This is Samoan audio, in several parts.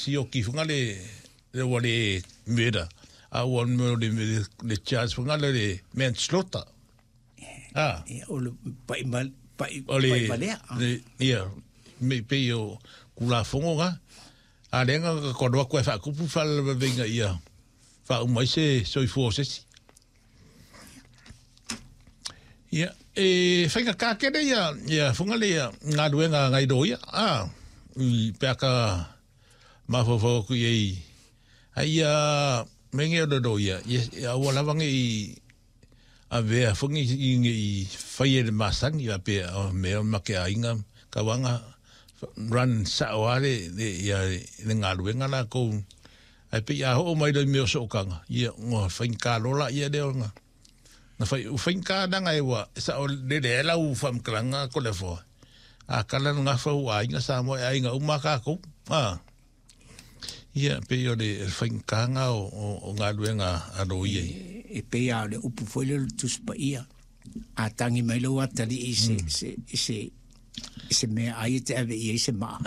sioki fanga le le ua le murder, a ua le le, le charge fanga le, le manslaughter. Ah. Ia, o le pai ma pai O le, pai malea. le ia, me pei o kulafono ga. A le nga ka kono aku e whaakupu whalalavenga ia whaumai se soifua o sesi. Ia, e whainga kākere ia, ia whanga le ia ngā ruenga ngai roia. Ah, i peaka mawhawhau aku i ei. Ai ia, menge o le roia, ia, ia ua lawange i a vea whangi i nge i whai e le masangi a pea o mea o make a inga ka wanga run sa o ale le ia le ngā ruenga la kou. Ai pe ia ho mai roi mea o sookanga. Ia ngā whainga lola ia leo ngā. Nga whai, u whainga nanga e wa, sa o le le ela u whamkalanga ko le foa. A kala ngā whau a inga sa moe a inga uma kākou. Ah. Ia, pe o le whainga o, o, o ngā ruenga a roi ei. E, e pei a o le upu foi le le Tusi Paia. A tangi mai lou atalii i se, se, i se, i se mea ai e te ave i ai se maa.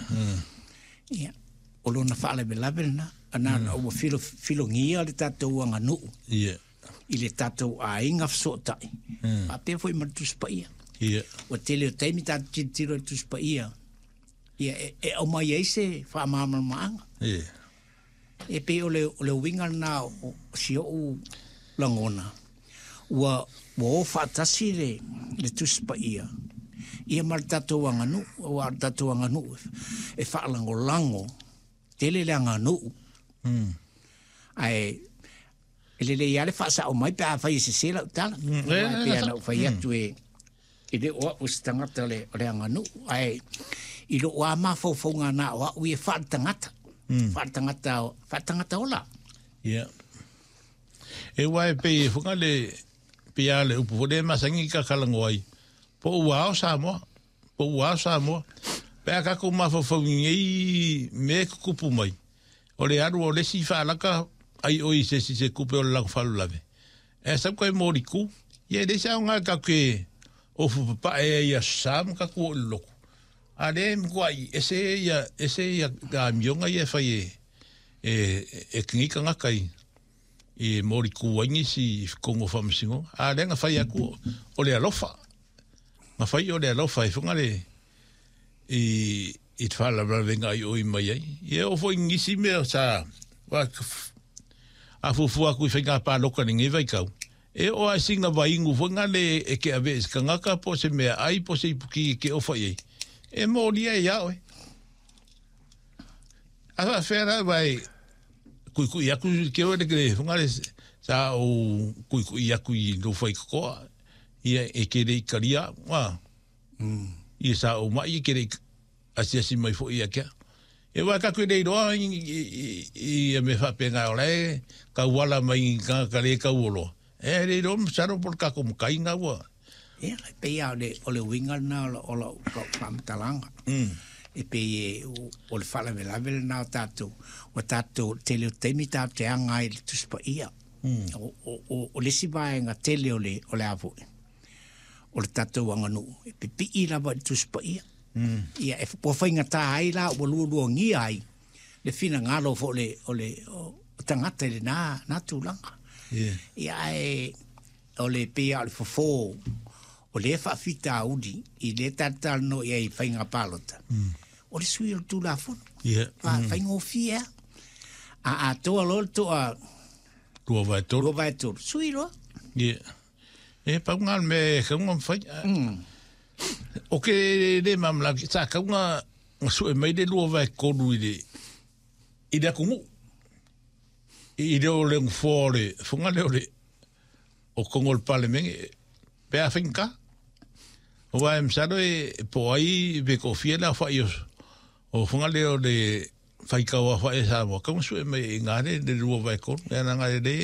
Ia, o lona faalavelave lena, ana mm. ua filo, filogia le tatou aganuu Ia. i le tatou aiga fesootai. Mm. Faapea foi ma le Tusi Paia. Ia. Ua tele o taimi tatou tilotilo i le Tusi Paia, ia e, e aumai ai se faamalamalamaga. Ia. E pei o le, o le uiga lena o, o si ou lagona, ua, ua o faatasi le, le Tusi Paia, ia ma le tatou aganuu, aua o le tatou aganuu e faalagolago tele le aganuu. Mm. Ae e lelei lava le faasao mai pe afai e sese lau tala. Mm. Aua e pei ona ou fai atu e, e le o au o se tagata o le, o le aganuu, ae i lou lava mafaufauga na o au ia faaletagata, mm. faaletagata, faaletagata ola. Ia. E wai e pei e whanga le, pei a le upu fo le masangi ka kalango ai. Po ua ao Samoa, po ua ao Samoa. Pe a kako mafaufau i ngei me kukupu mai. O le alu o le si whaalaka ai o i se si se kupe o le lago whalulave. E sau kai mōri ku, ia le sa o ngā kake o fupapae e ia sam ka ku o le loko. A le mkua i ese ia, ese ia ka mionga ia whai e, e, e kingi ka ngaka i, i mōri ku aingi si kongo whamasingo. A le nga whai aku o le alofa. Nga whai o le alofa e whanga le i, i te whalawalawenga i oi mai ai. Ia o fo ngisi mea sa, wa, a fufu aku i whainga pāloka ni ngai vaikau. E o a singa vaingu fo ngā le e ke ave se kangaka po se mea ai po se ipuki e ke ofa i ai. E mōria e ia oe. A wha whera vai kui kui aku ke oe le ke whanga le sa o kui kui aku i lo whai kokoa. Ia e ke le ikaria. Wa. Mm. Ia sa o mai e ke le asiasi mai fo ia kia. E wā kaku e nei roa i, i, i, i me whapenga o le ka wala mai i ngā ka le ka uoloa. E rei roa masaro po le kako makai ngā ua. Ia, e pei a o le, o le uiga lena o lau, o lau, lau faamatalaga. Mm. E pei e, o, o le faalavelave lena o tatou, ua tatou, tele o taimi tatou te aga ai i le Tusi Paia. Mm. O, o, o, o le isi vaega tele o le, o le a foi, o le tatou aganuu, e pipii lava i le Tusi Paia. Mm. Ia, e, ua faigata ai la, ua lualuagia ai le finagalo foi o le, o le, o tagata i lena, na tulaga. Yeah. Ia, ae, o le pei lava o le fofo o lea faafitauli i lea tatou talanoa i ai i faiga palota, o le sui o le Tulafono. Yeah. Fa, Faigofie lava. A atoa loa le toa 2/3. 2/3, sui loa. Yeah. E pau ngā me kaunga mwhai. Mm. O ke le mamla, sa kaunga nga sue mai le 2/3 i le, i le akungu. I le o le ngfo le, whanga le o le, o kongo le palemenge, pe a whinka. O wa msaro e po ai pe ko fia la whai o, o whanga le o le whaikawa whai e Samoa. Kaunga sue mai i ngā le, le 2/3, e ana ngā le,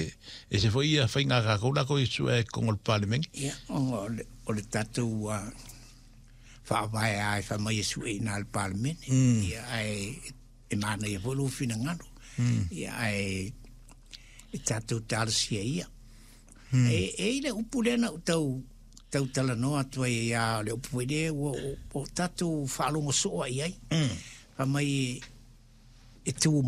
e se fo ia whai ngā kākou la ko i sue e kongo le palemenge. Ia, o le, o le tatou uh, faavae a e whai mai e sue i nā le palemene. Mm. Ia, ae, e mānaia foi lou finagalo. Mm. Ia, ae, e tatou talosia ia. Mm. E, e i le upu lea na ou tau, tau talanoa atu ai ia o le upu foi lea ua o, o tatou faalogo soo ai ai. Mm. Fai mai e, e tumau.